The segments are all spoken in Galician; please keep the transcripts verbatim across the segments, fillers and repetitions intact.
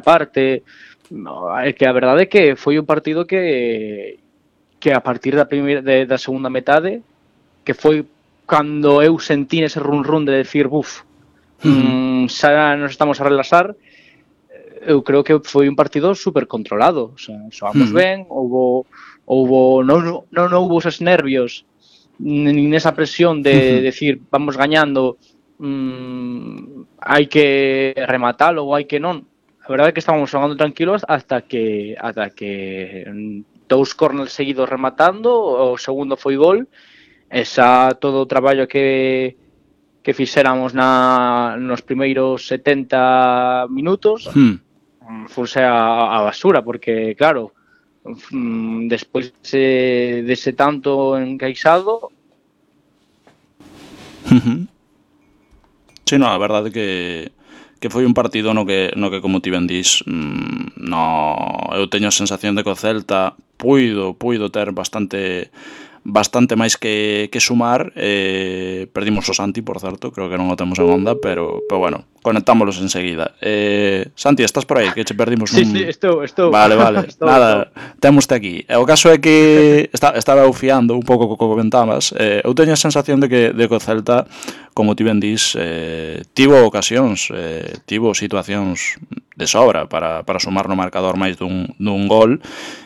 parte. No, é que a verdade é que foi un partido que que a partir da primeira de, da segunda metade, que foi cando eu sentí ese run run de decir, buf, uh-huh. mm, xa nos estamos a relaxar. Eu creo que foi un partido super controlado, o sea, xoamos uh-huh. ben, houbo houbo non non houbo esos nervios nin esa presión de uh-huh. decir, vamos gañando, mmm, hai que rematalo ou hai que non. A verdade é que estábamos xogando tranquilos hasta que hasta que dous corners seguidos rematando, o segundo foi gol, e xa todo o traballo que que fixéramos na nos primeiros setenta minutos uh-huh. fose a, a basura, porque claro, despois de, dese tanto encaixado. Uh-huh. Sí, no, a verdade que que foi un partido no que, no que como ti ben dís, mmm, no, eu teño a sensación de que o Celta puido, puido ter bastante bastante máis que, que sumar. Eh, perdimos o Santi, por certo, creo que non o temos en onda, pero, pero bueno, conectámoslos enseguida. Eh, Santi, estás por aí? Que che perdimos un... Sí, sí, estou, estou. Vale, vale, estou, nada, temoste aquí. E o caso é que está, estaba eu fiando un pouco co que comentabas. Eh, eu teño a sensación de que, de que o Celta, como ti ben dís, eh, tivo ocasións, eh, tivo situacións de sobra para, para sumar no marcador máis dun, dun gol.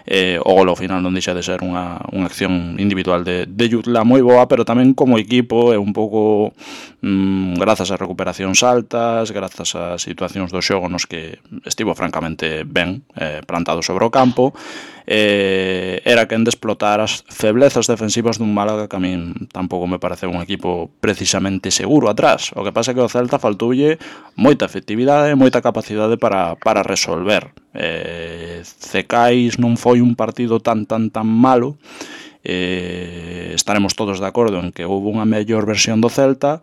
Eh, o gol ao final non deixa de ser unha, unha acción individual de, de Jutla moi boa, pero tamén como equipo é un pouco mmm, grazas a recuperacións altas, grazas a situacións do xogo nos que estivo francamente ben eh, plantado sobre o campo, eh, era quen de explotar as feblezas defensivas dun Málaga que a min tampouco me parece un equipo precisamente seguro atrás. O que pasa é que o Celta faltoulle moita efectividade, moita capacidade para, para resolver. Eh, Cecais non foi un partido tan tan tan malo. Eh, estaremos todos de acordo en que houve unha mellor versión do Celta,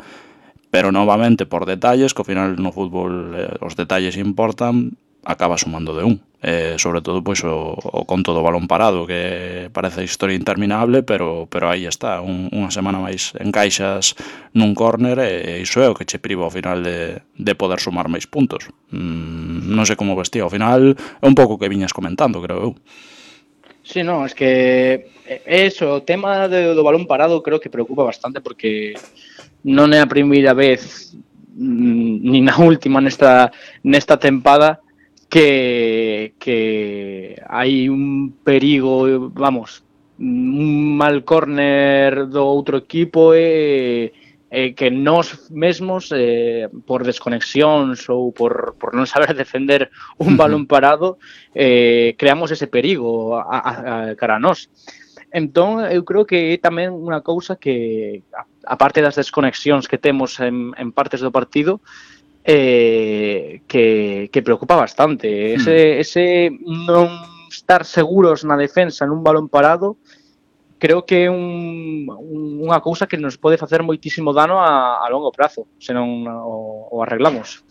pero novamente por detalles, que ao final no fútbol eh, os detalles importan, acaba sumando de un. Eh, sobre todo pois o, o conto do balón parado, que parece a historia interminable, pero pero aí está, un, unha semana máis encaixas nun córner e iso é o que che priva ao final de, de poder sumar máis puntos. Mm, non sei como vestía, ao final é un pouco que viñas comentando, creo eu. Sí, no, es que eso, o tema de, do balón parado creo que preocupa bastante, porque non é a primeira vez nin a última nesta nesta tempada que que hai un perigo, vamos, un mal córner do outro equipo e, e que nós mesmos eh, por desconexións ou por, por non saber defender un balón parado eh, creamos ese perigo a, a, a cara a nós. Entón, eu creo que é tamén unha cousa que, a parte das desconexións que temos en, en partes do partido, eh, que, que preocupa bastante. Ese, ese non estar seguros na defensa nun balón parado, creo que é un, unha cousa que nos pode facer moitísimo dano a, a longo prazo, se non o, o arreglamos.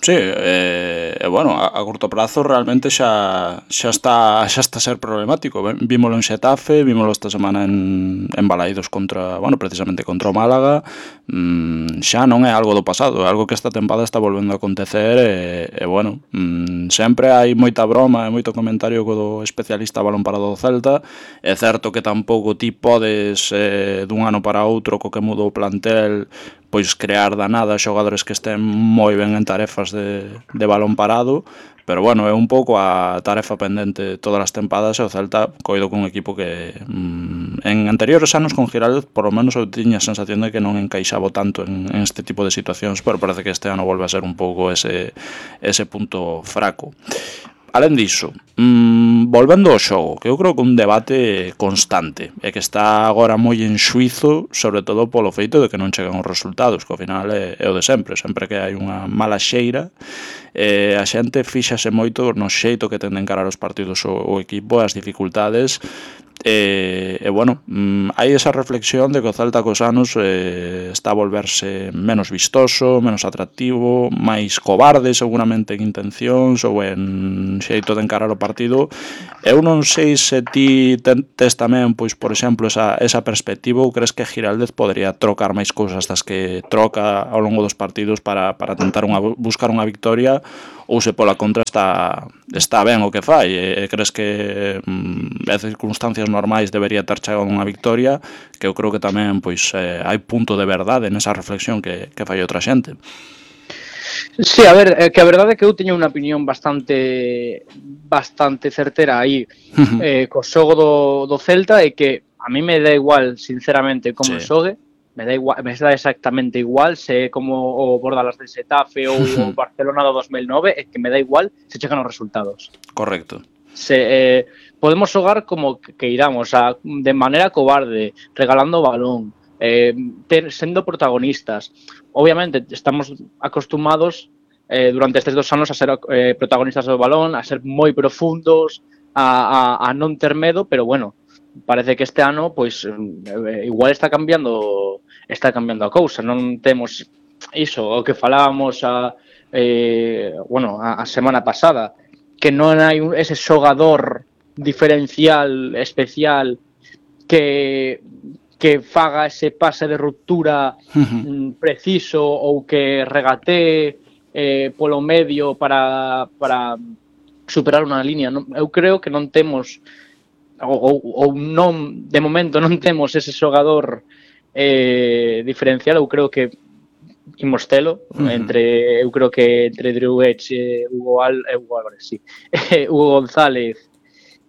Sí, e eh, bueno, a, a curto prazo realmente xa xa está xa está a ser problemático. Vímolo en Xetafe, vímolo esta semana en, en Balaídos contra, bueno, precisamente contra o Málaga. Mm, xa non é algo do pasado, é algo que esta tempada está volvendo a acontecer e, e bueno, mm, sempre hai moita broma e moito comentario co do especialista balón parado do Celta. É certo que tampouco ti podes eh, dun ano para outro co que mudou o plantel pois crear da nada xogadores que estén moi ben en tarefas de, de balón parado, pero bueno, é un pouco a tarefa pendente todas as tempadas e o Celta coido con un equipo que mmm, en anteriores anos con Giraldez por lo menos eu tiña a sensación de que non encaixaba tanto en, en este tipo de situacións, pero parece que este ano volve a ser un pouco ese, ese punto fraco. Alén diso, mmm, volvendo ao xogo, que eu creo que un debate constante e que está agora moi en xuizo, sobre todo polo feito de que non chegan os resultados, que ao final é, é o de sempre, sempre que hai unha mala xeira, eh, a xente fíxase moito no xeito que ten de encarar os partidos o, o equipo, as dificultades, e, e bueno, mmm, hai esa reflexión de que o Celta cos anos eh, está a volverse menos vistoso, menos atractivo, máis cobarde seguramente en intencións ou en xeito de encarar o partido. Eu non sei se ti tes tamén, pois, por exemplo, esa, esa perspectiva ou crees que Giraldez podería trocar máis cousas das que troca ao longo dos partidos para, para tentar unha, buscar unha victoria, ou se pola contra está está ben o que fai e, e crees que mm, en circunstancias normais debería ter chegado unha victoria, que eu creo que tamén pois eh, hai punto de verdade nesa reflexión que, que fai outra xente. Sí, a ver, é que a verdade é que eu teño unha opinión bastante bastante certera aí eh, co xogo do, do Celta, e que a mí me dá igual, sinceramente, como Sí. xogue, me dá igual, me dá exactamente igual se é como o Bordalas de Xetafe ou o Barcelona do dos mil nove, é que me dá igual se chegan os resultados. Correcto. Se, eh, podemos xogar como que, que iramos, a, de maneira cobarde, regalando o balón, eh, ter, sendo protagonistas. Obviamente estamos acostumados eh, durante estes dos anos a ser eh, protagonistas do balón, a ser moi profundos, a, a, a non ter medo, pero bueno, parece que este ano pois eh, igual está cambiando está cambiando a cousa, non temos iso, o que falábamos a, eh, bueno, a, a semana pasada, que non hai un, ese xogador diferencial, especial, que que faga ese pase de ruptura mm, preciso, ou que regatee eh, polo medio para, para superar unha línea. Non, eu creo que non temos, ou, ou, ou non, de momento non temos ese xogador eh, diferencial. Eu creo que imos telo, uh-huh. entre, eu creo que entre Drew Edge e Hugo, Al, eh, Hugo Álvarez, sí, Hugo González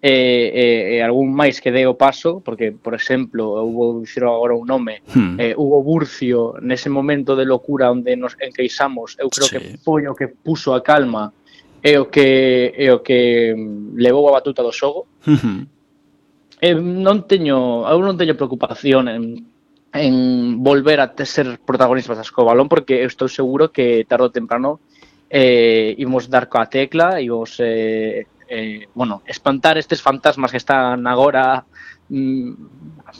e, e, e algún máis que dé o paso, porque, por exemplo, eu vou dicir agora un nome, hmm. eh, Hugo Burcio, nese momento de locura onde nos enqueixamos, eu creo sí. que foi o que puso a calma e o que, e o que levou a batuta do xogo. Uh-huh. eh, non teño, eu non teño preocupación en, en volver a ser protagonistas co balón, porque eu estou seguro que tarde ou temprano eh, imos dar coa tecla e os... Eh, Eh, bueno, espantar estes fantasmas que están agora mm,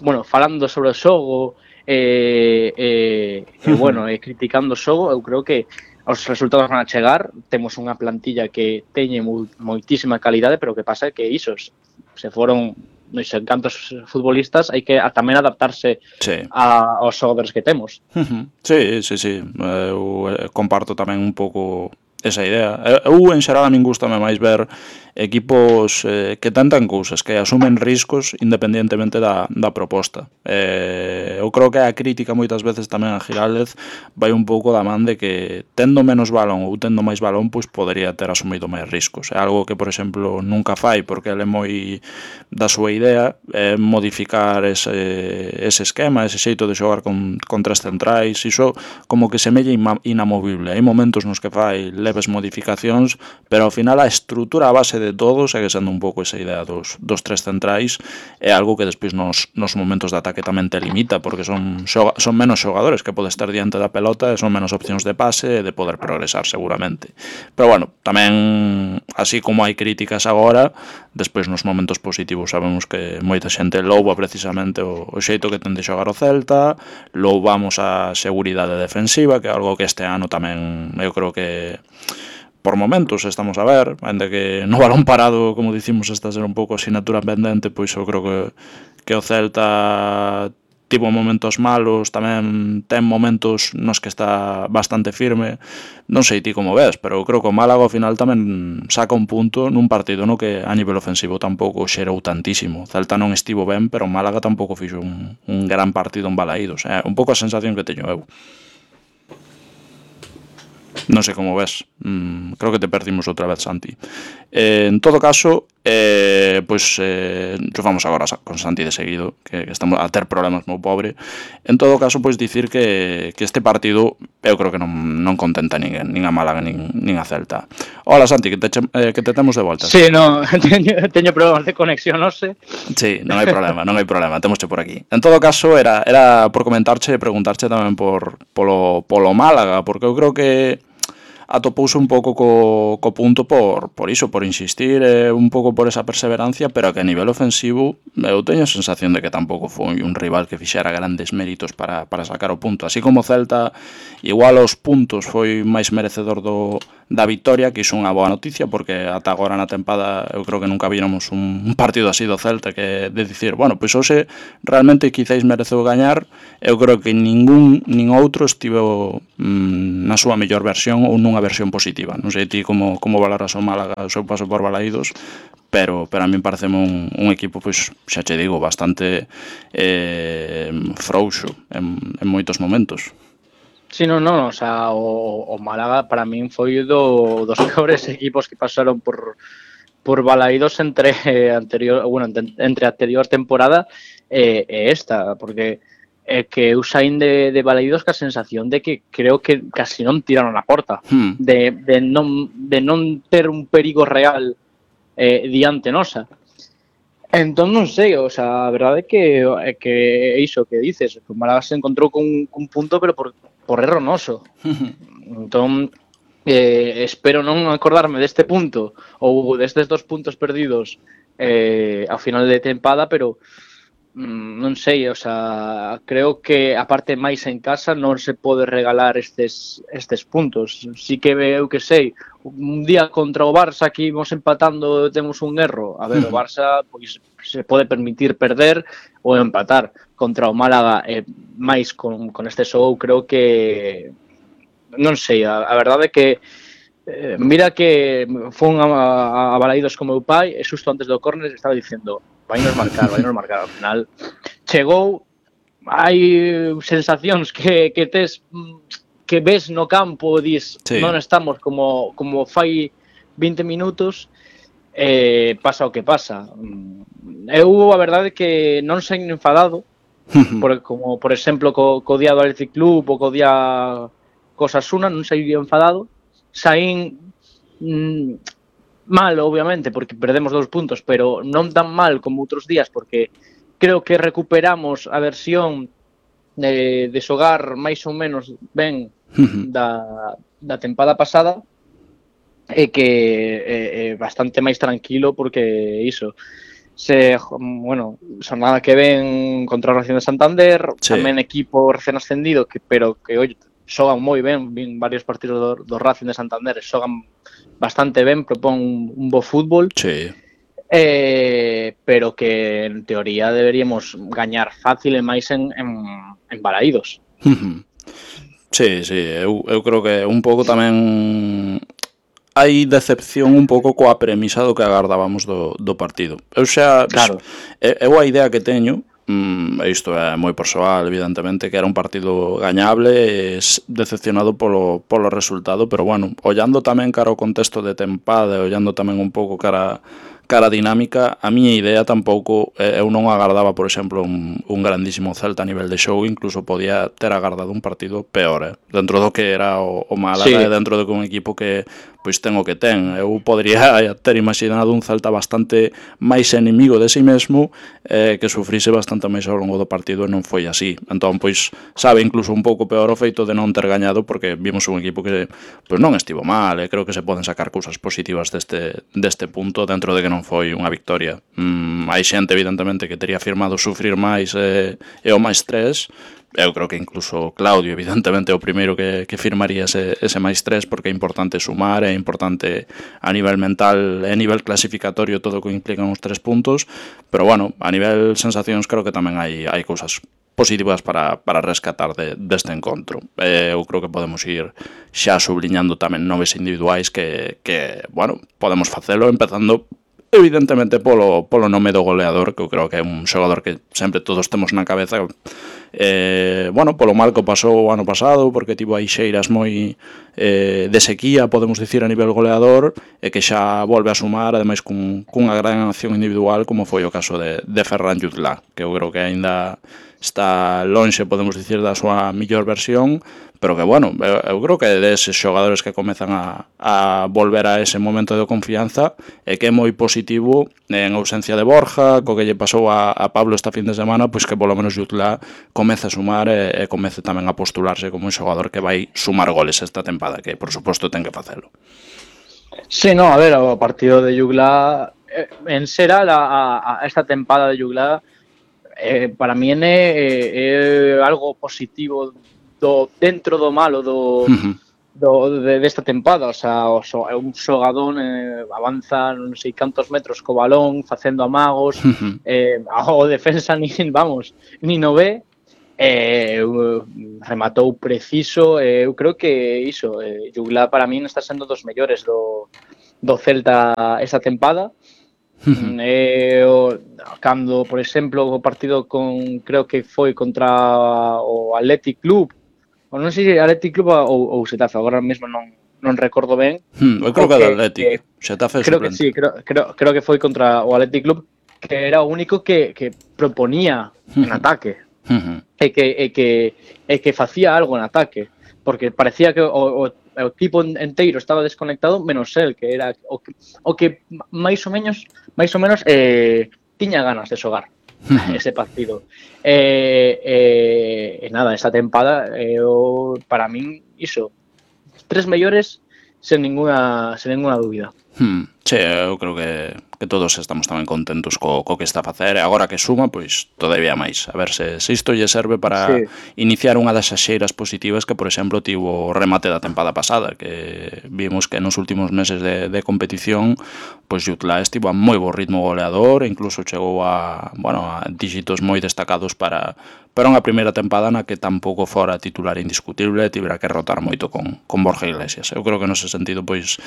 bueno, falando sobre o xogo e eh, eh, eh, bueno, eh, criticando o xogo. Eu creo que os resultados van a chegar, temos unha plantilla que teñe mo, moitísima calidade, pero o que pasa é que isos se foron non sei cantos futbolistas, hai que a, tamén adaptarse sí. a, aos xogadores que temos. Uh-huh. Sí, sí, sí, eu comparto tamén un pouco esa idea. Eu, en xeral, a min gustame máis ver equipos eh, que tentan cousas, que asumen riscos independientemente da, da proposta. Eh, eu creo que a crítica moitas veces tamén a Giraldez vai un pouco da man de que tendo menos balón ou tendo máis balón, pois podería ter asumido máis riscos. É algo que, por exemplo, nunca fai, porque ele é moi da súa idea, é modificar ese, ese esquema, ese xeito de xogar con, con tres centrais, iso como que semella inamovible. Hai momentos nos que fai leves modificacións, pero ao final a estrutura a base de todo segue sendo un pouco esa idea dos, dos tres centrais. É algo que despois nos, nos momentos de ataque tamén te limita, porque son, xoga, son menos xogadores que podes estar diante da pelota e son menos opcións de pase e de poder progresar seguramente. Pero bueno, tamén así como hai críticas agora, despois nos momentos positivos sabemos que moita xente louva precisamente o, o xeito que ten de xogar o Celta, louvamos a seguridade defensiva, que é algo que este ano tamén eu creo que por momentos estamos a ver, ainda que no balón parado, como dicimos, está a ser un pouco asignatura pendente, pois eu creo que, que o Celta tivo momentos malos, tamén ten momentos nos que está bastante firme. Non sei ti como ves, pero eu creo que o Málaga ao final tamén saca un punto nun partido no que a nivel ofensivo tampouco xerou tantísimo. O Celta non estivo ben, pero o Málaga tampouco fixo un, un gran partido en Balaídos. É un pouco a sensación que teño eu. Non sei como ves, mm, creo que te perdimos outra vez, Santi. Eh, en todo caso, eh, pois eh, vamos agora con Santi de seguido, que, que estamos a ter problemas moi pobre. En todo caso, pois dicir que, que este partido eu creo que non, non contenta nin, nin a Málaga nin, nin a Celta. Hola, Santi, que te, eh, que te temos de volta. Sí, no, teño, teño problemas de conexión, non sei. Sí, non hai problema, non hai problema, temosche por aquí. En todo caso, era, era por comentarche e preguntarche tamén por polo, polo Málaga, porque eu creo que atopouse un pouco co, co punto por, por iso, por insistir, eh, un pouco por esa perseverancia, pero que a nivel ofensivo eu teño a sensación de que tampouco foi un rival que fixera grandes méritos para, para sacar o punto. Así como Celta, igual aos puntos foi máis merecedor do, da victoria, que iso é unha boa noticia, porque ata agora na tempada eu creo que nunca víramos un, un partido así do Celta, que de dicir, bueno, pois hoxe realmente quizáis mereceu gañar. Eu creo que ningún nin outro estivo mm, na súa mellor versión ou nunha versión positiva. Non sei ti como, como valoras o Málaga o seu paso por Balaídos, pero, pero a min parece un, un equipo, pois, xa che digo, bastante eh, frouxo en, en moitos momentos. Sí, no, no, o sea, o, o Málaga para min foi do, dos peores equipos que pasaron por por Balaídos entre anterior, bueno, entre a anterior temporada e, e esta, porque é que eu saín de, de Balaídos ca sensación de que creo que casi non tiraron a porta, Hmm. de, de, non, de non ter un perigo real eh, diante nosa. Entón non sei, o sea, a verdade é que é que iso que dices, que o Málaga se encontrou con, con un punto, pero por, por erro noso. Entón, eh, espero non acordarme deste punto ou destes dos puntos perdidos eh, ao final de tempada, pero mm, non sei, o sea, creo que a parte máis en casa non se pode regalar estes estes puntos. Si que eu que sei, un día contra o Barça que imos empatando temos un erro, a ver, o Barça pois se pode permitir perder ou empatar. Contra o Málaga eh, máis con, con este show, creo que non sei, a, a verdade é que eh, mira que fun a, a, a Balaídos con meu pai e xusto antes do córner estaba dicendo vai nos marcar, vai nos marcar, ao final chegou, hai sensacións que, que tes que ves no campo, dis Sí. non estamos como, como fai vinte minutos, eh, pasa o que pasa. Eu a verdade é que non saín enfadado, por, como por exemplo co, co día do Athletic Club ou co día Osasuna, non saí enfadado, saín mm, mal, obviamente, porque perdemos dous puntos, pero non tan mal como outros días, porque creo que recuperamos a versión de, de xogar máis ou menos ben da, da tempada pasada, e que é, é bastante máis tranquilo, porque iso, se, bueno, xornada que ven contra a Racing de Santander, Sí. tamén equipo recén ascendido, que, pero que oi, xogan moi ben, vin varios partidos do, do Racing de Santander, xogan bastante ben, propón un, un bo fútbol, Sí. eh, pero que en teoría deberíamos gañar fácil e máis en, en, en Balaídos. Sí, sí, eu, eu creo que un pouco tamén hai decepción un pouco coa premisa do que agardábamos do, do partido. Eu xa, Claro. eu a idea que teño, mm, isto é moi persoal, evidentemente, que era un partido gañable e decepcionado polo, polo resultado, pero bueno, ollando tamén cara ao contexto de tempada e ollando tamén un pouco cara cara dinámica, a miña idea tampouco, eh, eu non agardaba, por exemplo, un, un grandísimo Celta a nivel de show, incluso podía ter agardado un partido peor, eh, dentro do que era o, o Málaga, Sí. e dentro do que un equipo que pois ten o que ten. Eu podría ter imaginado un Celta bastante máis enemigo de si mesmo, eh, que sufrise bastante máis ao longo do partido, e non foi así. Entón, pois, sabe incluso un pouco peor o feito de non ter gañado, porque vimos un equipo que pois non estivo mal, e creo que se poden sacar cousas positivas deste, deste punto, dentro de que non foi unha victoria. Mm, hai xente, evidentemente, que teria firmado sufrir máis e, e o máis tres. Eu creo que incluso Claudio, evidentemente, é o primeiro que, que firmaría ese, ese máis tres, porque é importante sumar, é importante a nivel mental e a nivel clasificatorio todo o que implican os tres puntos, pero bueno, a nivel sensacións creo que tamén hai, hai cousas positivas para, para rescatar de, deste encontro. Eh, eu creo que podemos ir xa subliñando tamén noves individuais que, que bueno, podemos facelo empezando evidentemente polo, polo nome do goleador, que eu creo que é un xogador que sempre todos temos na cabeza, eh, bueno, polo mal que pasou o ano pasado, porque tivo aí xeiras moi eh, de sequía, podemos dicir, a nivel goleador, e que xa volve a sumar, ademais cun, cunha gran acción individual, como foi o caso de, de Ferran Jutla, que eu creo que aínda está lonxe, podemos dicir, da súa millor versión, pero que, bueno, eu, eu creo que deses xogadores que comezan a, a volver a ese momento de confianza, e que é moi positivo en ausencia de Borja, co que lle pasou a, a Pablo esta fin de semana, pois que polo menos Jutla comece a sumar e, e comece tamén a postularse como un xogador que vai sumar goles esta tempada, que por suposto ten que facelo. Sí, no, a ver, o partido de Jugla eh, en xeral a, a esta tempada de Jugla eh, para mí é, é algo positivo do, dentro do malo do, Uh-huh. do, de, desta tempada, o sea, o, so, é un xogador eh, avanza non sei cantos metros co balón, facendo amagos, eh, o defensa nin, vamos, nin o ve, eh, rematou preciso, eh, eu creo que iso, eh, Jugla para min está sendo dos mellores do, do Celta esa tempada. eh, o, cando, por exemplo, o partido con, creo que foi contra o Athletic Club, ou non sei se Athletic Club ou, ou Xetafe, agora mesmo non, non recordo ben. Hmm, eu creo que, que é do Athletic, Xetafe creo que sí, creo, creo, creo que foi contra o Athletic Club, que era o único que, que proponía en ataque, e que, e que, e que facía algo en ataque, porque parecía que o, o, o equipo enteiro estaba desconectado, menos el, que era o que, o que máis ou menos, máis ou menos eh, tiña ganas de xogar ese partido. E eh, eh, nada, esa tempada, eh, o, para min, iso, tres mellores sen ninguna, sen ninguna dúbida. Hmm, sí, eu creo que, que todos estamos tamén contentos co, co que está a facer, e agora que suma, pois todavía máis, a ver se, se isto lle serve para sí. iniciar unha das xeiras positivas que, por exemplo, tivo o remate da tempada pasada, que vimos que nos últimos meses de, de competición, pois Jutla estivo a moi bo ritmo goleador, e incluso chegou a, bueno, a dígitos moi destacados para, para unha primeira tempada na que tampouco fora titular indiscutible, tivera que rotar moito con, con Borja Iglesias. Eu creo que nese sentido, pois,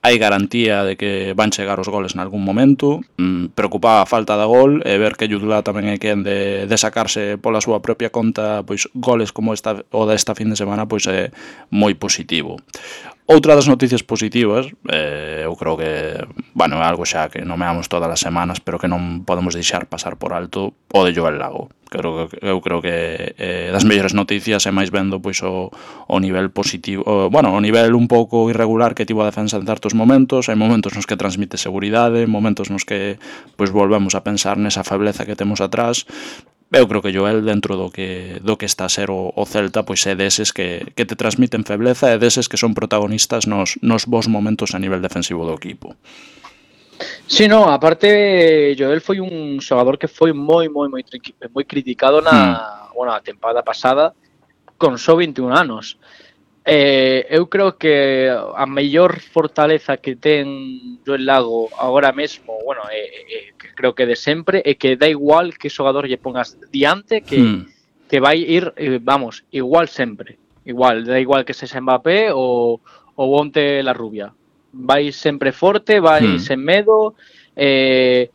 hai garantía de que van chegar os goles nalgún momento. Mm, preocupaba a falta de gol, e ver que Jutla tamén é quen de, de sacarse pola súa propia conta pois goles como esta o desta fin de semana, pois é moi positivo. Outra das noticias positivas, eh, eu creo que, bueno, é algo xa que nomeamos todas as semanas, pero que non podemos deixar pasar por alto, o de Joel Lago. Creo que, eu creo que eh, das mellores noticias é máis vendo pois o, o nivel positivo, o, bueno, o nivel un pouco irregular que tivo a defensa en certos momentos, hai momentos nos que transmite seguridade, momentos nos que pois volvemos a pensar nesa febleza que temos atrás. Eu creo que Joel, dentro do que do que está a ser o, o Celta, pois é deses que, que te transmiten febleza, e deses que son protagonistas nos, nos bons momentos a nivel defensivo do equipo. Sí, no, aparte Joel foi un xogador que foi moi moi moi moi criticado na, hmm. bueno, a tempada pasada con só vinte e un anos. Eh, eu creo que a mellor fortaleza que ten Joel Lago agora mesmo, bueno, eh, eh, creo que de sempre, é que dá igual que xogador lle pongas diante, que, hmm. que vai ir, eh, vamos, igual sempre. Igual, da igual que sexa Mbappé ou, ou onte la rubia. Vai sempre forte, vai hmm. sen medo, eh,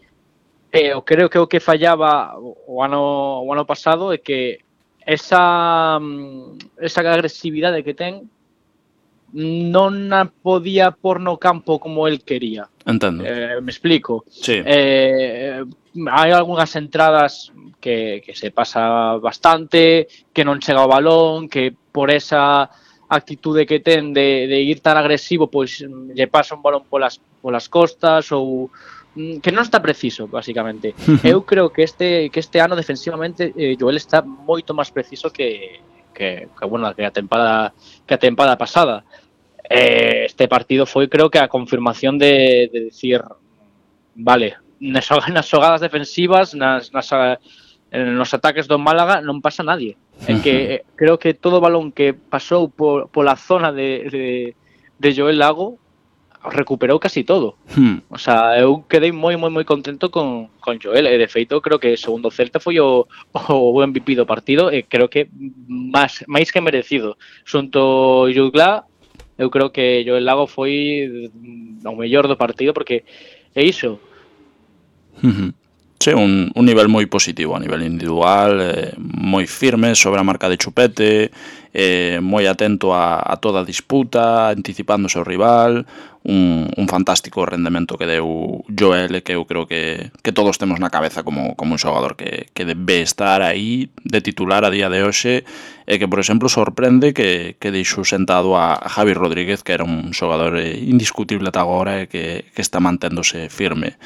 eh, eu creo que o que fallaba o ano, o ano pasado é que esa esa agresividade que ten non a podía por no campo como el quería. Entendo. Eh, me explico. Sí. Eh, hai algunhas entradas que, que se pasa bastante, que non chega ao balón, que por esa actitude que ten de, de ir tan agresivo, pois lle pasa un balón polas, polas costas, ou que non está preciso, basicamente. Eu creo que este que este ano defensivamente eh, Joel está moito máis preciso que que, que bueno, que a tempada que a tempada pasada. Eh, este partido foi, creo que a confirmación de, de decir, vale, nas, nas xogadas defensivas, nas, nas nos ataques do Málaga non pasa nadie. É que eh, creo que todo o balón que pasou por pola zona de, de, de Joel Lago recuperou casi todo. Hmm. O sea, eu quedei moi, moi, moi contento con, con Joel, e de feito creo que segundo Celta foi o, o M V P do partido, e creo que máis, máis que merecido. Xunto Jutla, eu creo que Joel Lago foi o mellor do partido, porque é iso. Uh-huh. Sí, un, un nivel moi positivo a nivel individual, eh, moi firme sobre a marca de chupete, eh, moi atento a, a toda a disputa, anticipándose ao rival, un, un fantástico rendemento que deu Joel, que eu creo que, que todos temos na cabeza como, como un xogador que, que debe estar aí de titular a día de hoxe, e que, por exemplo, sorprende que, que deixou sentado a, a Javi Rodríguez, que era un xogador indiscutible ata agora e que, que está manténdose firme.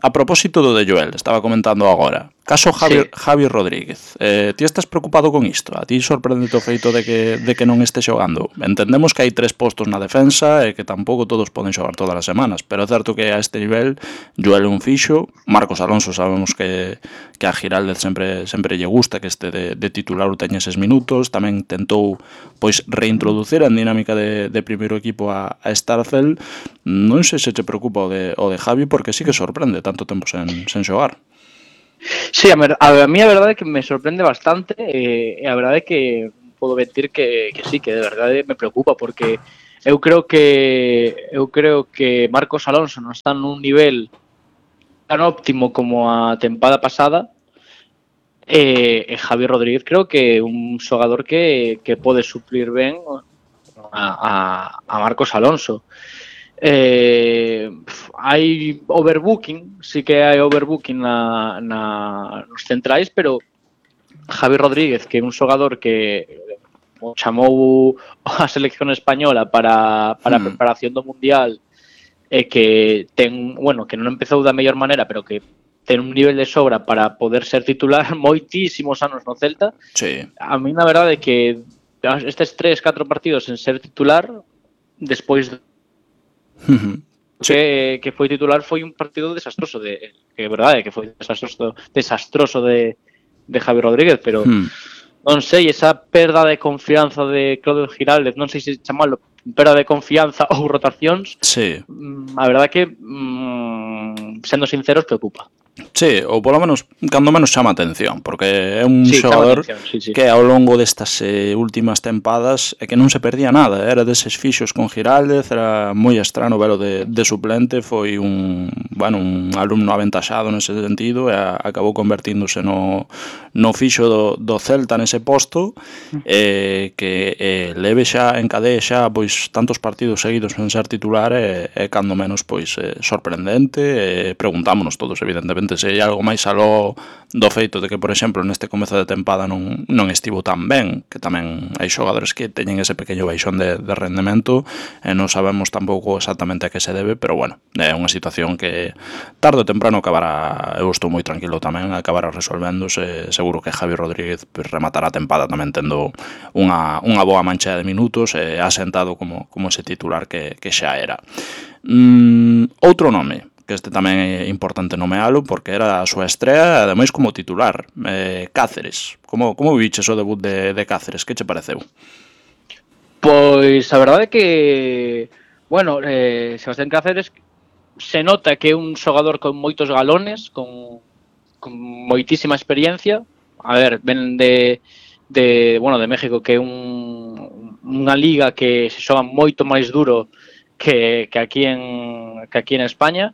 A propósito do de Joel, estaba comentando agora, Caso Javi, Sí. Javi Rodríguez. Eh, ti estás preocupado con isto? A ti sorprendete o feito de que, de que non este xogando? Entendemos que hai tres postos na defensa e que tampouco todos poden xogar todas as semanas, pero é certo que a este nivel Joel un fixo, Marcos Alonso sabemos que, que a Giraldez sempre sempre lle gusta que este de, de titular o teña eses minutos, tamén tentou pois reintroducir en dinámica de, de primeiro equipo a, a Starcel. Non sei se te preocupa o de, o de Javi, porque sí que sorprende tanto tempo sen, sen xogar. Sí, a, mer, a mí a verdade é que me sorprende bastante e eh, a verdade é que podo mentir que, que sí, que de verdade me preocupa porque eu creo que eu creo que Marcos Alonso non está nun nivel tan óptimo como a tempada pasada e, e Javi Rodríguez creo que é un xogador que, que pode suplir ben a, a, a Marcos Alonso. Eh, hai overbooking, sí que hai overbooking na, na, nos centrais, pero Javi Rodríguez, que é un xogador que o chamou a selección española para, para a preparación do Mundial e que ten, bueno, que non empezou da mellor maneira, pero que ten un nivel de sobra para poder ser titular moitísimos anos no Celta. Sí. A mí na verdade é que estes tres, catro partidos en ser titular despois de Uh-huh. Sí. que, que foi titular foi un partido desastroso de, que é verdade que foi desastroso desastroso de, de Javi Rodríguez, pero Hmm. non sei, esa perda de confianza de Claudio Giraldez, non sei se chamalo perda de confianza ou rotacións, Sí. a verdade que mm, sendo sinceros preocupa. Sí, ou polo menos, cando menos chama a atención, porque é un Sí, xogador chama a atención, sí, sí. que ao longo destas eh, últimas tempadas é que non se perdía nada, era deses fixos con Giraldez, era moi estrano velo de, de suplente, foi un, bueno, un alumno aventaxado nese sentido e a, acabou convertíndose no, no fixo do, do Celta nese posto, eh, que eh, leve xa, encadee xa pois tantos partidos seguidos en ser titular e, e cando menos pois eh, sorprendente, e preguntámonos todos evidentemente se hai algo máis aló do feito de que, por exemplo, neste comezo de tempada non, non estivo tan ben, que tamén hai xogadores que teñen ese pequeno baixón de, de rendemento e non sabemos tampouco exactamente a que se debe, pero bueno, é unha situación que tarde ou temprano acabará, eu estou moi tranquilo tamén, acabará resolvéndose, seguro que Javi Rodríguez pues, rematará a tempada tamén tendo unha, unha boa mancha de minutos e asentado como, como ese titular que, que xa era. Mm, outro nome, que este tamén é importante nomealo porque era a súa estrea, ademais como titular, eh, Cáceres. Como, como viches o debut de, de Cáceres? Que che pareceu? Pois a verdade é que, bueno, eh, Sebastián Cáceres se nota que é un xogador con moitos galones, con, con moitísima experiencia. A ver, ven de, de, bueno, de México, que é un, unha liga que se xoga moito máis duro que, que, aquí en, que aquí en España.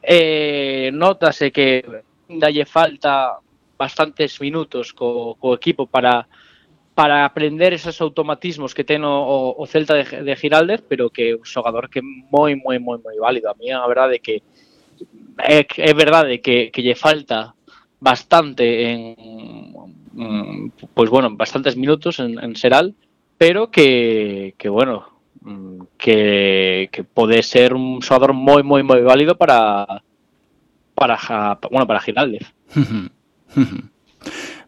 Eh, notase que dalle falta bastantes minutos co, co equipo para para aprender esos automatismos que ten o, o Celta de, de Giraldez, pero que é un xogador que é moi, moi, moi, moi válido. A mí a verdade é que é, é verdade que, que lle falta bastante en pois bueno, bastantes minutos en, en Seral, pero que, que bueno, que, que pode ser un xogador moi, moi, moi válido para para, bueno, para Giraldez.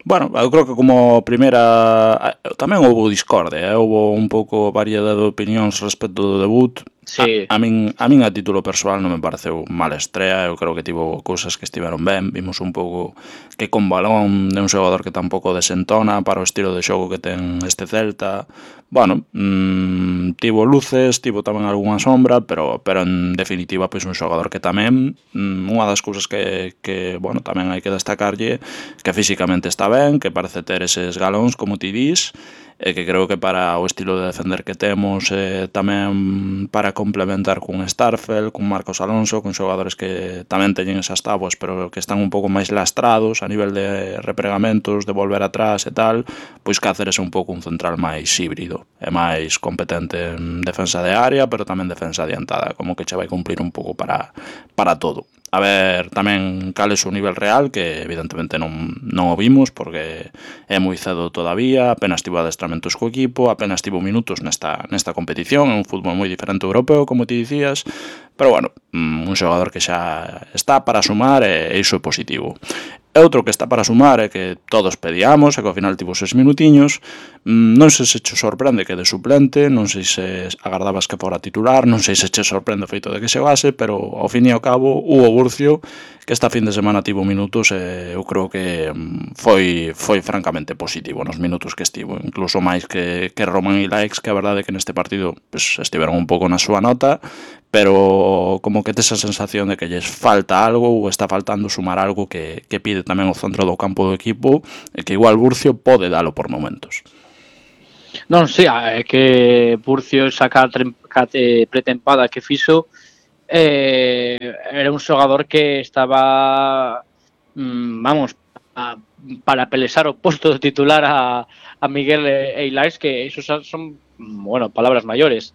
Bueno, eu creo que como primeira tamén houve discordia, eh? houve un pouco variedade de opinións respecto do debut. Sí. A, a, min, a min a título persoal non me pareceu mala estrea, eu creo que tivo cousas que estiveron ben, vimos un pouco que con balón de un xogador que tampouco desentona para o estilo de xogo que ten este Celta. Bueno, mmm, tivo luces, tivo tamén algunha sombra, pero pero en definitiva pois un xogador que tamén mmm, unha das cousas que, que bueno, tamén hai que destacarlle que físicamente está ben, que parece ter eses galóns como ti dis, e que creo que para o estilo de defender que temos eh, tamén para complementar cun Starcel, cun Marcos Alonso, con xogadores que tamén teñen esas táboas pero que están un pouco máis lastrados a nivel de repregamentos, de volver atrás e tal, pois Cáceres é un pouco un central máis híbrido, é máis competente en defensa de área pero tamén defensa adiantada, como que che vai cumplir un pouco para, para todo. A ver tamén cal é o nivel real, que evidentemente non, non o vimos porque é moi cedo todavía, apenas tivo adestramentos co equipo, apenas tivo minutos nesta, nesta competición, é un fútbol moi diferente ao europeo, como ti dicías, pero bueno, un xogador que xa está para sumar e iso é positivo. E outro que está para sumar é que todos pedíamos, e que ao final tivo seis minutiños. Non sei se che sorprende que de suplente, non sei se agardabas que fora titular, non sei se che sorprende o feito de que xogase, pero ao fin e ao cabo, Hugo Burcio, que esta fin de semana tivo minutos, e eu creo que foi foi francamente positivo nos minutos que estivo, incluso máis que, que Roman Ilaix, que a verdade é que neste partido pues, estiveron un pouco na súa nota, pero como que tes a sensación de que lles falta algo ou está faltando sumar algo que, que pide tamén o centro do campo do equipo e que igual Burcio pode dalo por momentos. Non, sí, é que Burcio esa pretempada que fixo eh, era un xogador que estaba mmm, vamos a, para pelexar o posto de titular a, a Miguel Eilaix, que iso son, bueno, palabras maiores.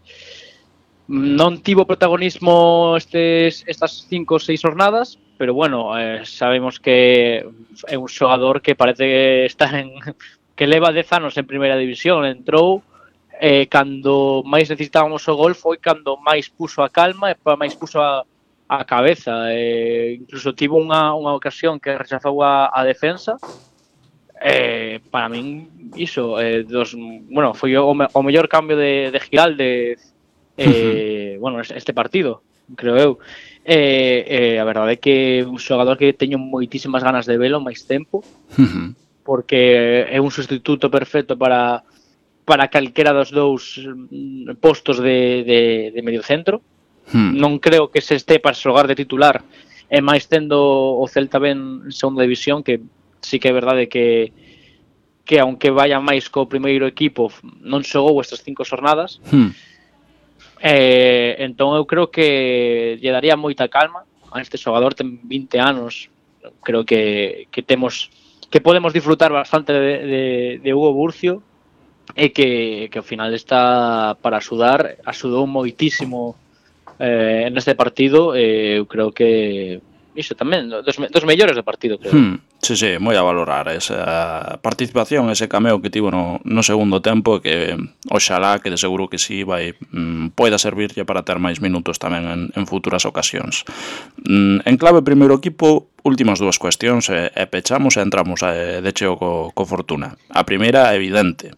Non tivo protagonismo estes, estas cinco ou seis jornadas, pero bueno, eh, sabemos que é un xogador que parece que está en que leva dez anos en primeira división. Entrou eh, cando máis necesitábamos o gol, foi cando máis puso a calma e máis puso a, a cabeza. Eh, incluso tivo unha, unha ocasión que rechazou a, a defensa. Eh, para min, iso, eh, dos, bueno, foi o, o mellor cambio de, de Giralde eh, bueno, este partido, creo eu. Eh, eh, a verdade é que un xogador que teño moitísimas ganas de velo máis tempo, uh-huh. porque é un sustituto perfecto para para calquera dos dous postos de, de, de medio centro. Uh-huh. Non creo que se este para xogar de titular, e máis tendo o Celta ben en segunda división, que sí que é verdade que que aunque vaya máis co primeiro equipo non xogou estas cinco xornadas. Uh-huh. Eh, entón eu creo que lle daría moita calma a este xogador, ten vinte anos, creo que, que temos que podemos disfrutar bastante de, de, de Hugo Burcio, e que, que ao final está para axudar, axudou moitísimo eh, neste partido, e eu creo que iso tamén, dos, dos mellores do partido, creo. Hmm, sí, sí, moi a valorar esa participación, ese cameo que tivo no, no segundo tempo, que oxalá, que de seguro que sí, vai mm, poida servirlle para ter máis minutos tamén en, en futuras ocasións. Mm, en clave primeiro equipo, últimas dúas cuestións e, e pechamos e entramos a, de cheo co, co Fortuna. A primeira, evidente.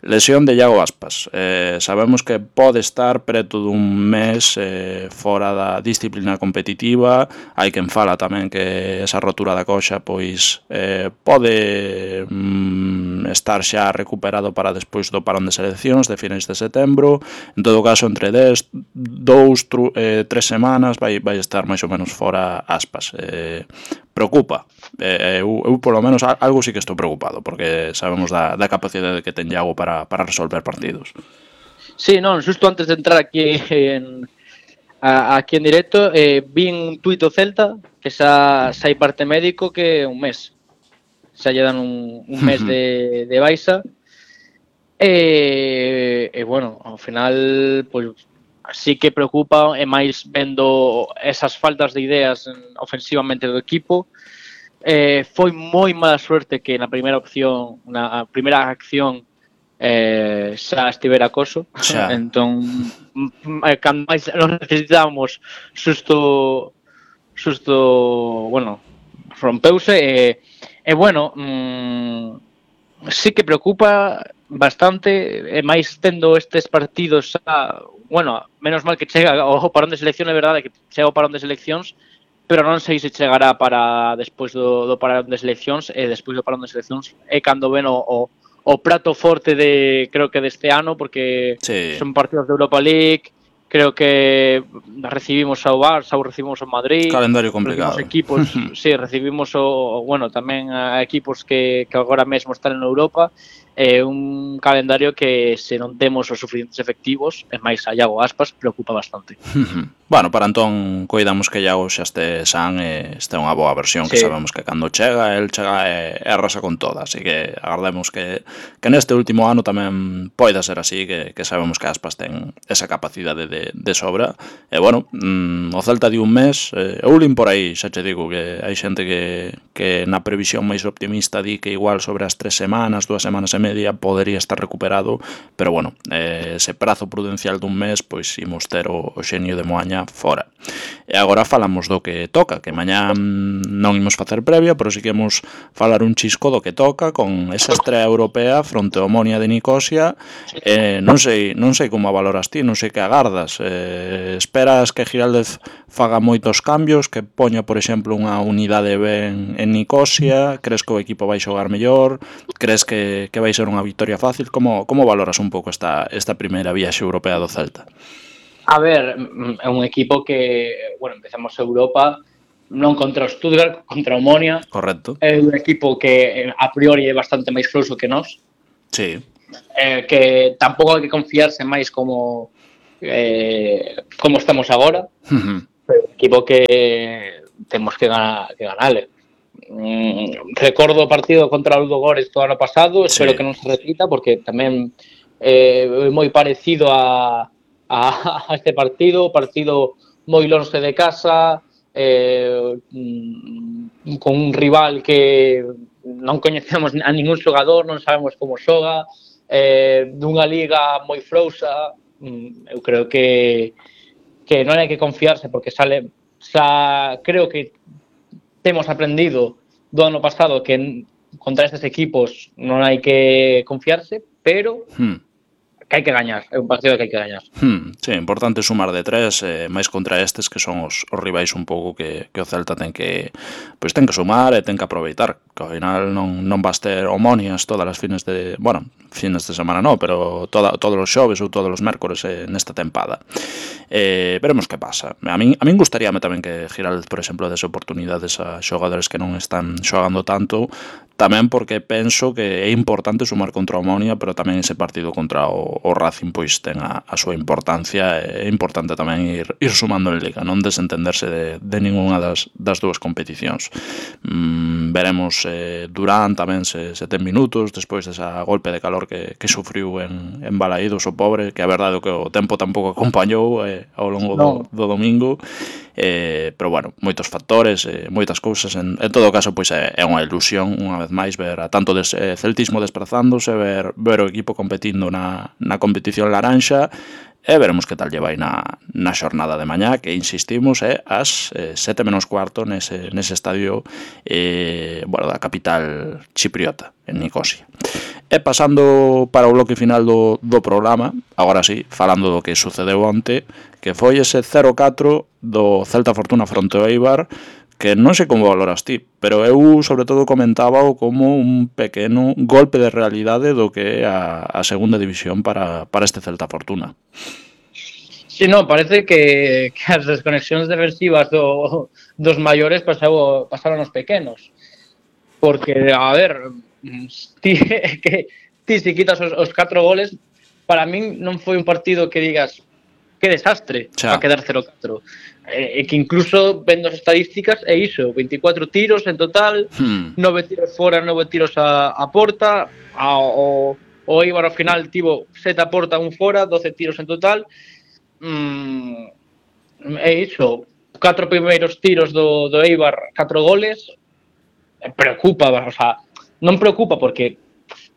Lesión de Iago Aspas. Eh, sabemos que pode estar preto dun mes eh, fora da disciplina competitiva. Hai quen fala tamén que esa rotura da coxa pois eh, pode mm, estar xa recuperado para despois do parón de seleccións de finais de setembro. En todo caso, entre dez, dous, eh, tres semanas vai, vai estar máis ou menos fora Aspas. Eh, preocupa. Eh, eu, eu, polo menos, algo sí que estou preocupado, porque sabemos da, da capacidade que ten Iago para, para resolver partidos. Sí, non, xusto antes de entrar aquí en, a, aquí en directo, eh, vi un tuit do Celta que xa, xa hai parte médico que un mes. Xa lle dan un, un mes de, de baixa. E, e, bueno, ao final, pois, sí que preocupa, e máis vendo esas faltas de ideas ofensivamente do equipo. Eh, foi moi mala suerte que na primeira opción, na primeira acción eh, xa estivera Coso. Xa. Entón, cando máis nos necesitábamos, xusto xusto, bueno, rompeuse e, e bueno, mmm, sí que preocupa bastante, e máis tendo estes partidos xa, bueno, menos mal que chega o parón de selección, é verdade que chega o parón de seleccións, pero non sei se chegará para despois do, do parón de seleccións, e despois do parón de seleccións é cando ven o, o, o prato forte de, creo que deste ano, porque sí. Son partidos de Europa League, creo que recibimos ao Barça ou recibimos ao Madrid, calendario complicado, equipos, sí, recibimos o, bueno, tamén a equipos que, que agora mesmo están en Europa. É un calendario que, se non temos os suficientes efectivos, e máis a Iago Aspas, preocupa bastante. Bueno, para entón, coidamos que Iago xa este san e este unha boa versión, que sí. Sabemos que cando chega, el chega e, e arrasa con toda, así que agardemos que, que neste último ano tamén poida ser así, que, que sabemos que Aspas ten esa capacidade de, de sobra. E, bueno, mmm, o Celta di un mes, eh, eu lin por aí, xa che digo, que hai xente que, que na previsión máis optimista di que igual sobre as tres semanas, dúas semanas e media podería estar recuperado, pero bueno, eh, ese prazo prudencial dun mes, pois imos ter o, o xenio de Moaña fora. E agora falamos do que toca, que mañá non imos facer previa, pero si que imos falar un chisco do que toca con esa estrea europea fronte ao Omonia de Nicosia. Eh, non sei non sei como a valoras ti, non sei que agardas. Eh, esperas que Giraldez faga moitos cambios, que poña, por exemplo, unha unidade ben en Nicosia? Crees que o equipo vai xogar mellor? Crees que, que vai ser unha victoria fácil? Como, como valoras un pouco esta, esta primeira viaxe europea do Celta? A ver, é un equipo que, bueno, empezamos Europa non contra o Stuttgart, contra o Omonia. Correcto. É un equipo que a priori é bastante máis frouxo que nós. Sí. Eh, que tampouco hai que confiarse máis como eh, como estamos agora. Uh-huh. Pero un equipo que temos que, ganar, que ganarle. Mm, recordo o partido contra o Ludogorets do ano pasado, espero sí. que non se repita, porque tamén é eh, moi parecido a a este partido, partido moi lonxe de casa, eh, con un rival que non coñecemos a ningún xogador, non sabemos como xoga, eh, dunha liga moi frouxa. Eu creo que que non hai que confiarse, porque sale xa creo que temos aprendido do ano pasado que contra estes equipos non hai que confiarse, pero hmm. que hai que gañar, é un partido que hai que gañar. Hmm, sí, importante sumar de tres, eh, máis contra estes que son os, os rivais un pouco que, que o Celta ten que pois ten que sumar e ten que aproveitar, que ao final non, non vas ter Omonias todas as fines de, bueno, fines de semana non, pero toda, todos os xoves ou todos os mércores eh, nesta tempada. Eh, veremos que pasa. A min, a min gustaríame tamén que Giraldez, por exemplo, dese oportunidades a xogadores que non están xogando tanto, tamén porque penso que é importante sumar contra o Omonia, pero tamén ese partido contra o, o Racing pois ten a, a súa importancia. É importante tamén ir, ir sumando en Liga, non desentenderse de, de ninguna das, das dúas competicións. Mm, veremos eh, Durán tamén se, se ten minutos despois desa golpe de calor que, que sufriu en, en Balaídos o pobre, que a verdade é que o tempo tampouco acompañou eh, ao longo do, no. do domingo. Eh, pero bueno, moitos factores, eh, moitas cousas. En, en todo caso, pois é, é unha ilusión unha vez máis ver a tanto des, eh, celtismo desprazándose, ver, ver o equipo competindo na, na competición laranxa, e veremos que tal lle vai na, na xornada de mañá, que insistimos é ás eh, sete menos cuarto nese, nese estadio eh, bueno, da capital chipriota, en Nicosia. E pasando para o bloque final do, do programa, agora sí, falando do que sucedeu onte, que foi ese cero catro do Celta Fortuna fronte ao Eibar, que non sei como valoras ti, pero eu sobre todo comentábao como un pequeno golpe de realidade do que é a, a segunda división para, para este Celta Fortuna. Sí, no, parece que, que as desconexións defensivas do, dos maiores pasau, pasaron os pequenos. Porque, a ver, ti, que, ti se quitas os, os catro goles, para min non foi un partido que digas que desastre para quedar cero catro. E eh, que incluso vendo as estadísticas é iso, veinticuatro tiros en total, hmm. nove tiros fora, nove tiros a, a porta, a, o, o Eibar ao final tivo sete a porta, un fora, doce tiros en total. Mm, é iso, catro primeiros tiros do, do Eibar, catro goles, preocupa, o sea, non preocupa porque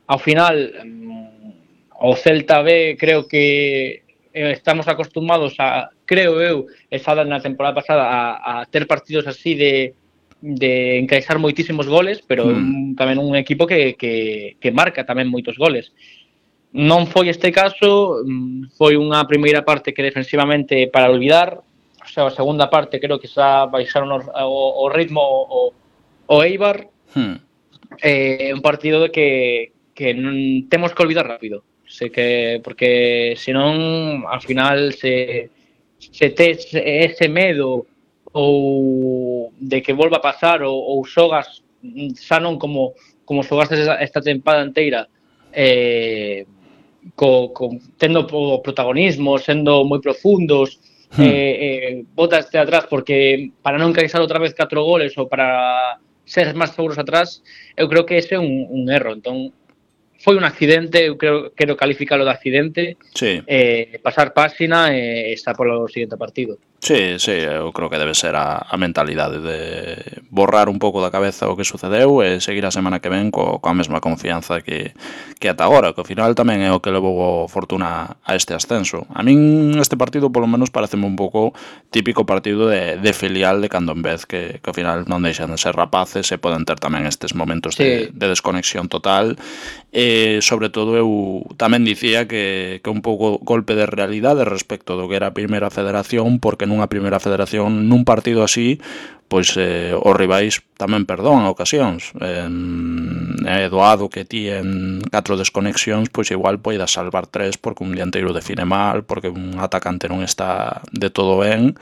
ao final mm, o Celta B creo que estamos acostumados a, creo eu, esa na temporada pasada a, a ter partidos así de de encaixar moitísimos goles, pero mm. un, tamén un equipo que, que, que marca tamén moitos goles. Non foi este caso, foi unha primeira parte que defensivamente para olvidar, o sea, a segunda parte creo que xa baixaron o, o, o ritmo o, o Eibar, mm. eh, un partido de que, que non temos que olvidar rápido. Sei que porque senón ao final se se tes ese medo ou de que volva a pasar ou, ou xogas xa non como como xogaste esta tempada inteira eh, co, co, tendo o protagonismo, sendo moi profundos, hmm. eh, eh, botaste atrás porque para non caixar outra vez catro goles ou para ser máis seguros atrás, eu creo que ese é un, un erro. Entón foi un accidente, eu creo, quero calificalo de accidente, sí. eh, pasar páxina e estar polo seguinte partido. Sí, sí, eu creo que debe ser a, a mentalidade de borrar un pouco da cabeza o que sucedeu e seguir a semana que ven co, coa mesma confianza que, que ata agora, que ao final tamén é o que levou o Fortuna a este ascenso. A min este partido polo menos pareceme un pouco típico partido de, de filial de cando en vez, que, que ao final non deixan de ser rapaces e poden ter tamén estes momentos de, Sí. de desconexión total. E sobre todo eu tamén dicía que, que un pouco golpe de realidade respecto do que era a primeira federación, porque nunha primeira federación, nun partido así, pois eh, os rivais tamén perdoan a ocasións. Eh, é doado que ti en catro desconexións, pois igual poidas salvar tres porque un dianteiro define mal, porque un atacante non está de todo ben.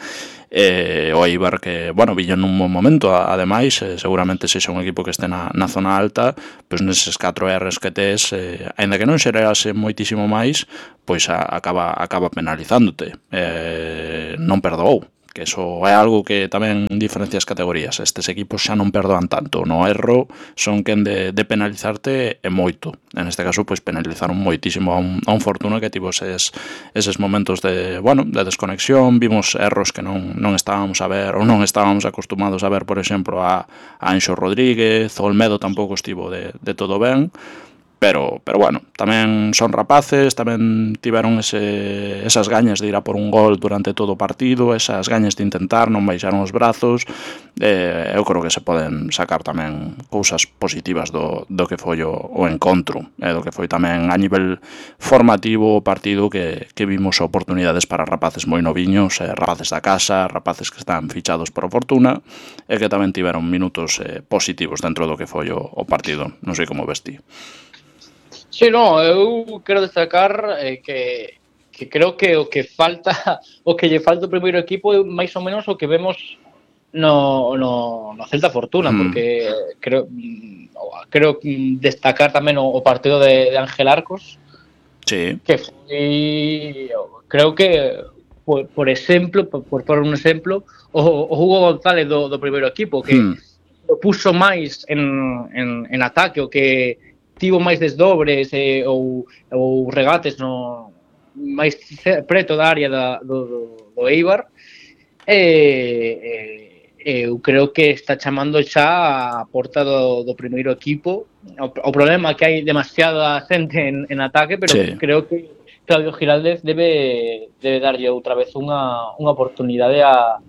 Eh, o Eibar que, bueno, villo nun bom momento, ademais, eh, seguramente sexa un equipo que este na, na zona alta, pois neses catro erres que tes, eh, ainda que non xerase moitísimo máis, pois a, acaba, acaba penalizándote. Eh, non perdoou, que eso é algo que tamén diferencia as categorías. Estes equipos xa non perdoan tanto. No erro son quen de, de penalizarte e moito. En este caso, pois penalizaron moitísimo a un, a un Fortuna que tivo eses, eses momentos de, bueno, de desconexión. Vimos erros que non, non estábamos a ver ou non estábamos acostumados a ver, por exemplo, a, a Anxo Rodríguez. O Olmedo tampouco estivo de, de todo ben. Pero, pero bueno, tamén son rapaces, tamén tiveron ese, esas gañas de ir a por un gol durante todo o partido, esas gañas de intentar, non baixaron os brazos. Eh, eu creo que se poden sacar tamén cousas positivas do, do que foi o, o encontro, e eh, do que foi tamén a nivel formativo o partido que, que vimos oportunidades para rapaces moi noviños, eh, rapaces da casa, rapaces que están fichados por Fortuna, e que tamén tiveron minutos eh, positivos dentro do que foi o, o partido. Non sei como vestí. Sí, no, eu quero destacar eh, que, que creo que o que falta, o que lle falta o primeiro equipo é máis ou menos o que vemos no, no, no Celta Fortuna, mm. porque creo creo destacar tamén o, o partido de, de Ángel Arcos, sí. que foi, creo que por, por exemplo, por, por por un exemplo, o, o Hugo González do, do primeiro equipo, que mm. o puxo máis en, en, en ataque, o que tivo máis desdobres eh, ou, ou regates no máis preto da área da, do, do, do Eibar, e eh, eu creo que está chamando xa a porta do, do primeiro equipo. O, o problema é que hai demasiada xente en, en ataque, pero sí. Creo que Claudio Giraldez debe, debe darlle outra vez unha, unha oportunidade a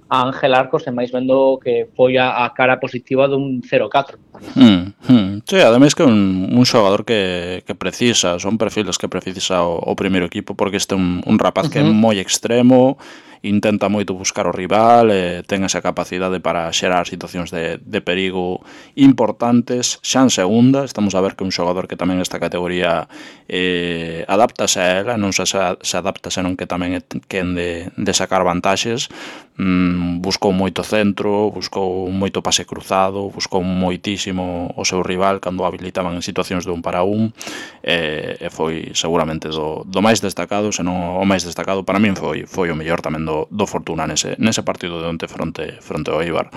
a Ángel Arcos, e máis vendo que foi a, a cara positiva dun cero catro. Hmm, hmm. Sí, ademais que un, un xogador que, que precisa, son perfiles que precisa o, o primeiro equipo, porque este é un, un rapaz que é moi extremo, intenta moito buscar o rival, eh, ten esa capacidade para xerar situacións de, de perigo importantes. Xa en segunda, estamos a ver que un xogador que tamén nesta categoría eh, adaptase a ela, non se, se adapta senón que tamén é quen de, de sacar vantaxes. Mm, buscou moito centro, buscou moito pase cruzado, buscou moitísimo o seu rival cando o habilitaban en situacións de un para un, e, e foi seguramente do, do máis destacado, senón o máis destacado. Para min foi, foi o mellor tamén do, do Fortuna nese, nese partido de onte fronte, fronte ao Eibar.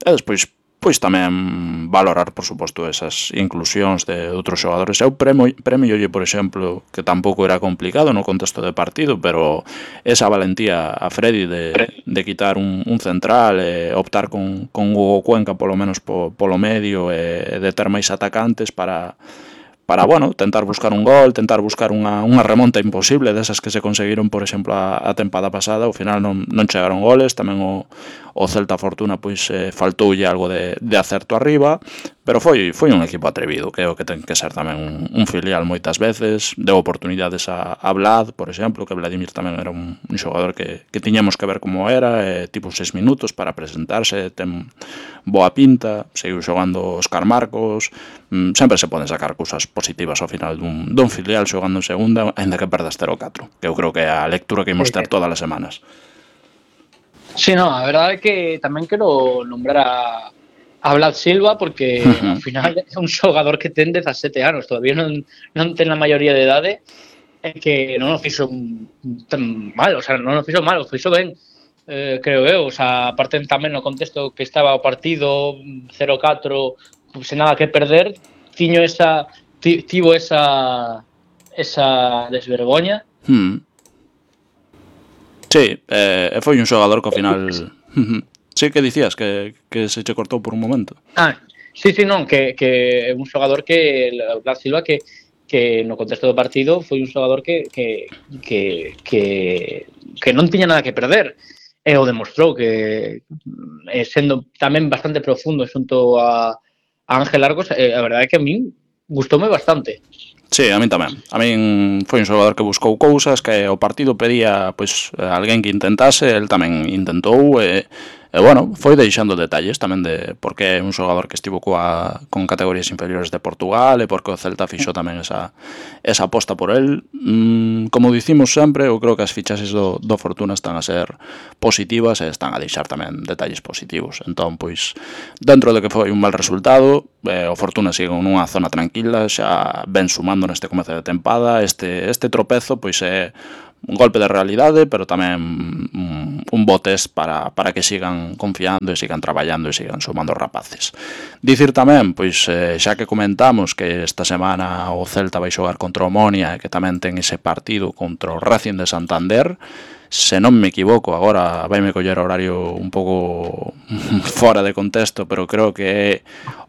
E despois pois tamén valorar, por suposto, esas inclusións de outros xogadores. Eu premio, premio por exemplo, que tampouco era complicado no contexto de partido, pero esa valentía a Freddy de, de quitar un, un central, e optar con, con Hugo Cuenca polo menos po, polo medio, e de ter máis atacantes para... para, bueno, tentar buscar un gol, tentar buscar unha, unha remonta imposible desas que se conseguiron, por exemplo, a, a tempada pasada. Ao final non, non chegaron goles, tamén o, o Celta Fortuna pois eh, faltoulle algo de, de acerto arriba, pero foi foi un equipo atrevido, que é o que ten que ser tamén un, un filial moitas veces. Deu oportunidades a, a Vlad, por exemplo, que Vladimir tamén era un, un xogador que, que tiñamos que ver como era, eh, tipo seis minutos para presentarse, ten boa pinta, seguiu xogando Óscar Marcos. Mm, sempre se poden sacar cousas positivas ao final dun, dun filial xogando en segunda, ainda que perdas cero catro, que eu creo que é a lectura que imos ter todas as semanas. Sí, no, a verdade é que tamén quero nombrar a, a Vlad Silva, porque uh-huh. ao final é un xogador que ten dezasete anos, todavía non, non ten a maioría de idade, e que non o fixo tan mal, o sea, non o fixo mal, o fixo ben, eh, creo eu, o sea, aparte tamén no contexto que estaba o partido, cero catro, sen nada que perder, tiño esa tivo esa esa desvergoña. Hmm. Sí, eh, foi un xogador que ao final... Sí, que dicías, que, que se che cortou por un momento. Ah, sí, sí, non, que, que un xogador que, Blas Silva, que, que no contexto do partido foi un xogador que, que, que, que, que non tiña nada que perder. E o demostrou, que eh, sendo tamén bastante profundo xunto a, a Ángel Argos, eh, a verdade é que a min gustoume bastante. Sí, a min tamén. A min foi un xogador que buscou cousas, que o partido pedía pois alguén que intentase, el tamén intentou e, e bueno, foi deixando detalles tamén de porque é un xogador que estivo coa, con categorías inferiores de Portugal e porque o Celta fixo tamén esa, esa aposta por el. Mm, como dicimos sempre, eu creo que as fichaxes do, do Fortuna están a ser positivas e están a deixar tamén detalles positivos. Entón, pois, dentro de que foi un mal resultado, eh, o Fortuna sigue nunha zona tranquila, xa ven sumando neste comezo de tempada. Este, este tropezo pois é un golpe de realidade, pero tamén un, un botes para, para que sigan confiando e sigan traballando e sigan sumando rapaces. Dicir tamén, pois eh, xa que comentamos que esta semana o Celta vai xogar contra o Omonia e que tamén ten ese partido contra o Racing de Santander, se non me equivoco, agora vai me coller horario un pouco fora de contexto, pero creo que é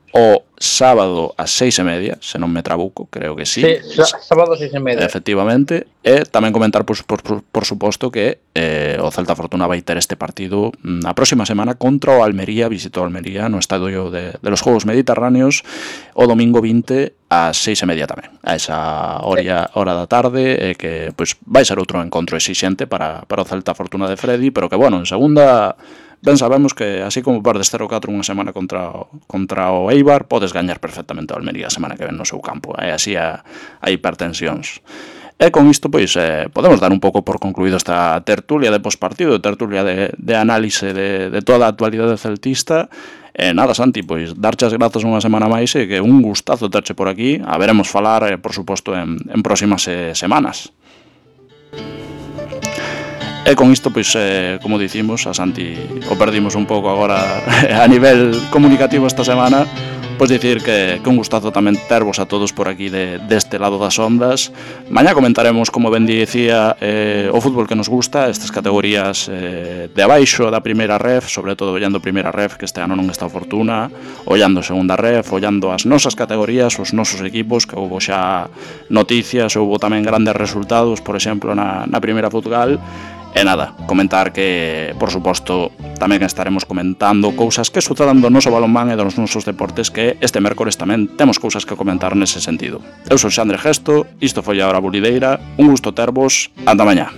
o sábado ás seis e media, se non me trabuco, creo que sí. Sí, sábado seis e media. Efectivamente. E tamén comentar, por, por, por suposto, que eh, o Celta Fortuna vai ter este partido a próxima semana contra o Almería, visito Almería no estadio de, de los Juegos Mediterráneos o domingo vinte ás seis e media tamén, a esa hora, hora da tarde, eh, que pois vai ser outro encontro exixente para, para o Celta Fortuna de Freddy, pero que, bueno, en segunda... Ben sabemos que, así como perdes cero catro unha semana contra, contra o Eibar, podes gañar perfectamente o Almería a semana que ven no seu campo. É así a, a hipertensións. E con isto, pois, eh, podemos dar un pouco por concluído esta tertulia de pospartido, tertulia de, de análise de, de toda a actualidade celtista. E nada, Santi, pois, darche as grazas unha semana máis e que un gustazo terche por aquí. A veremos falar, eh, por suposto, en, en próximas eh, semanas. E con isto, pois, eh, como dicimos, a Santi o perdimos un pouco agora a nivel comunicativo esta semana, pois dicir que, que un gustazo tamén tervos a todos por aquí de, deste lado das ondas. Mañá comentaremos, como ben dicía, eh, o fútbol que nos gusta, estas categorías eh, de abaixo da primeira ref, sobre todo ollando primeira ref, que este ano non está Fortuna, ollando segunda ref, ollando as nosas categorías, os nosos equipos, que houbo xa noticias, houbo tamén grandes resultados, por exemplo, na, na primeira Futgal. E nada, comentar que, por suposto, tamén estaremos comentando cousas que sucedan do noso balonmán e dos nosos deportes, que este mércores tamén temos cousas que comentar nese sentido. Eu sou Xandre Gesto, isto foi a Hora Bulideira, un gusto tervos, anda mañá.